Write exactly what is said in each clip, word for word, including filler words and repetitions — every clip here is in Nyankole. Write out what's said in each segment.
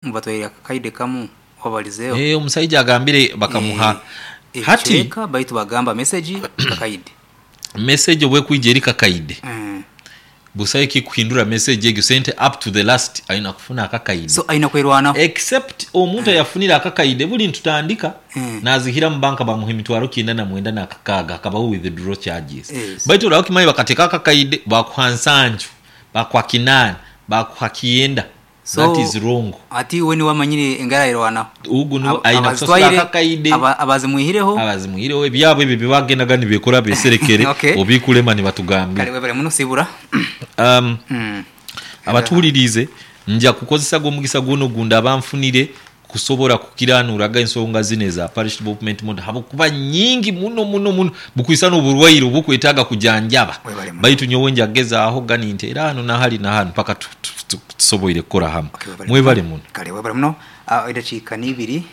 Ngu batwaire akakaide kamu wabalizeeho. Eh, omusaija agambire bakamuha Eh, hati ebicweka baitu bagamba message kakaide. Message obwekwija eri kakaide, Mm. busaho ekikuhindura message egyo. Sente up to the last aina kufuna akakaide. So aina kwerwanaho. Except omuntu ayafunire akakaide buli ntutandika Mm. nazihira mu banka, bamuha emitwaro kyenda na mwenda nakakaaga, hakabaho withdraw charges. Yes. Baitu oraho kimanyi bakateka akakaide, bakuha nsanju, bakuha kinaana, bakuha kyenda. So that is wrong. Ati we niwe amanyire engara ayerwanaho. Ugu niwe Aba- aina kusasura abazitwaire, akakaide. aba- abazimuihireho. Abazimuhireho ebyabo ebyo byebagendaga nibekora beserekere. Okay. Obikulema nibatugambira. Kale webale muno sibura. um, Mm. Abatuhulirize, nja kukozesa gw'omugisa guno gundi abanfunire kusobora kukiranuraga ensonga zino eza parish development model, habwokuba nyingi muno muno muno, bukwisa n'oburwaire obukwetaaga kujanjaba. Webale muno. Baitu nyowe njagezaaho gani nti era hano nahali nahano mpaka tu- tu- tu- tusoboire kukora hamwe. Okay, webale. Mwebale muno. Kale webale muno. Ah, edakiika n'ibiri,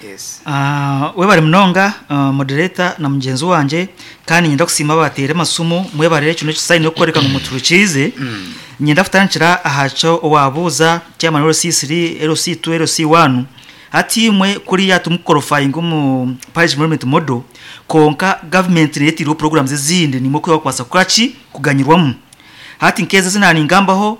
yes. Ah, webale munonga, uh, moderator na mugenzi wanje, kandi nyenda kusiima abateire amasumu. Mwebale, kino ekisaini okukworeka ngu muturukiize. Nyenda kutandikira aha kyo owabuuza chairman L C three, L C two, L C one. Hati imwe kuriya tumuqualifying omu parish development model, konka government neyetiriho programs ezindi nimwe kubakwasa kukoraki kuganyirwamu. Hati nk'ezi zinaningambaho,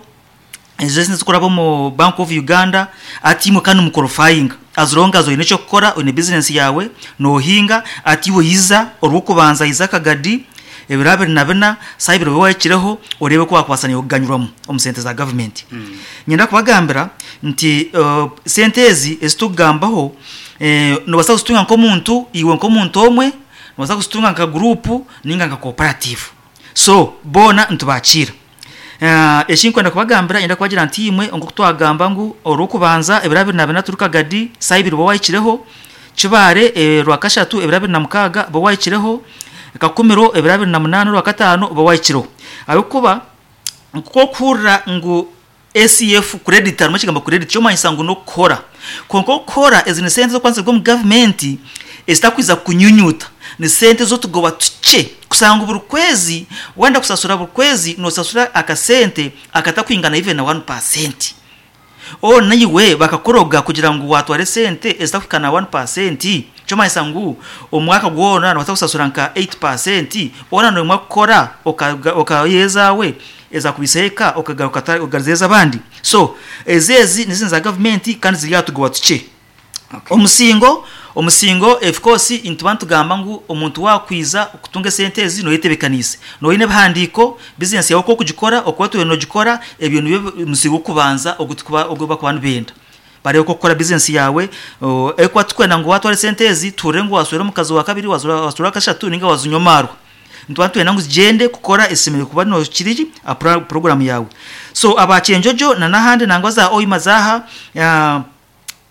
ezo zikuraba omu Bank of Uganda, ati imwe kandi muqualifying as long as oyine ekyokukora, oyine business yawe nohinga. Ati iwe yiza orwokubanza, yiza akagadi ebiro abiri na bina, saha ibiri wahikireho, orebe ko wakwasa niwe kuganyurwamu omu sente za government. mm. Nyenda kubagambira nti uh, sente ezi ezitukugambaho, eh, nobasa kuzitunga nk'omuntu, iwe nk'omuntu omwe, nobasa kuzitunga nka group ninga nka cooperative, so boona nitubakiira. Uh, ekinkwenda kubagambira, nyenda kubagira nti imwe nkoku twagamba ngu orwokubanza ebiro abiri na bina turi kagadi, saha ibiri wahikireho, kibare eh, rwakashatu ebiro abiri na mukaaga bo wahikireho, kakumiro ebiro abiri na munaana rwakataano bo wahikireho. Ahabwokuba nkokuhurira ngu A C F credit, harimu ekigambo credit, kyomanyisa ngu nokukora, konka okukora ezi ni sente z'okwanzirwa omu gavumenti ezitakwiza kunyunyuta, ni sente z'otugoba tukye kusanga buri kwezi wenda kusasura, buri kwezi nosasura akasente akatakwingana even na one percent. O naiwe bakakoroga kugira ngu watware sente ezitakuhika na one percent, kyomanyisa ngu omwaka gwona nobasa kusasura nka eight percent. Ona nomwa kukora okayezawe ezakubisa eka, okagaruka okagariza abandi. So ezi ezi nizindi za gavumenti kandi ziri atugoba tukye. Okay. omusingo omusingo of course nituba nitugamba ngu omuntu wakwiza kutunga esente ezi noyetebekanise, noyine ebihandiiko, business yawe uko okugikora, okuba tuwe nogikora. Ebyo nibyo musingo okubanza ogu bakuba nibenda barebe uko okukora business yawe. Ekuba tukwenda ngu watwara esente ezi tuhurire ngu waswera omukazi wa kabiri, waswera kashatu, ninga wazinywa amarwa. Nituba nitwenda ngu zigyende kukora esemereire kuba nokiriri program yawe. So abakyenjojo na n'ahandi nangwa za oyima zaha, uh,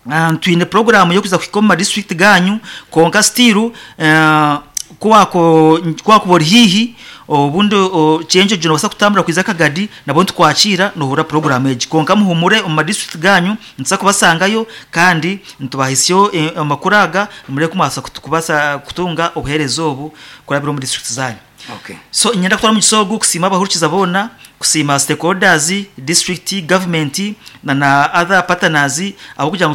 Uh, twine program yokuza kuhika omu madistrict ganyu, konka still uh, kuwako kuwakuba ori hihi obundi kyenjojo nobasa kutambura kwiza akagadi, nabo nitukwakira nohura program egi. Konka muhumure, omu madistrict ganyu nituza kubasangayo kandi nitubahisyo eh, amakuru aga, murebe kumwasa kubasa kutunga obuhereza obu kurabira omu district zanyu. Okay. So nyenda kutwara omugisa ogu kusiima abahurikiza boona, kusiima stakeholders, district government na na other partners, abo kugira ngu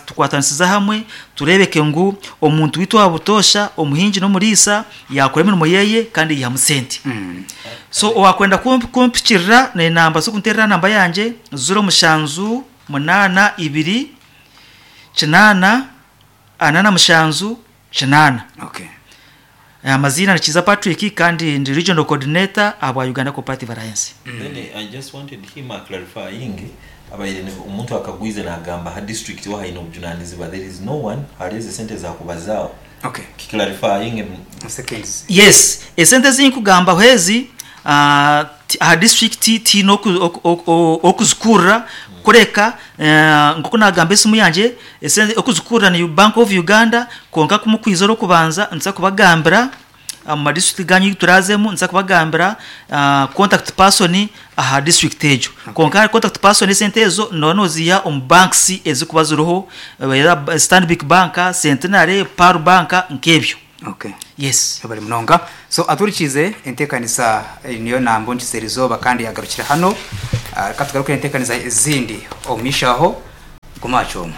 tukwatanisiza hamwe turebeke ngu omuntu witu wa butosha, omuhingi n'omuriisa, yakora emirimo yeye kandi yihamu sente. Mm. So owakwenda kumpikirira nenamba zokunterera, namba yangye zero mushanju munaana ibiri kinaana ana na mushanju kinaana. Okay. Amazina ni Kiza Patrick kandi ndi regional coordinator abwa Uganda Cooperative Alliance. Then I just wanted him a clarifying abaire omuntu akagwize nagamba ha district wa haine obujunanizibwa, there is no one hali sente zakubazaawo. Okay. Clarifying. Seconds. Yes, esente zinkugamba ezi uh, aha district tiine okuzikurra kureka uh, nkoku nagamba esimu yangye, esente okuzikurra ni Bank of Uganda. Konka kumukwiza orwokubanza nza kubagambira mu madistrict ganyu turazemu, nza kubagambira uh, contact person aha district egyo. Konka contact person, esente ezo noba noziha omu banks ezikuba ziriho, eh, Stanbic Bank, Centenary, Pearl Bank, nk'ebyo. Okay. Yes. Bari munonga. So aturikize entekanisa eh, niyo nambo nkiserizoba kandi yagarukira hano. Ah, reka tugarukire entekanisa ezindi omumishaho. Guma aha kyoma.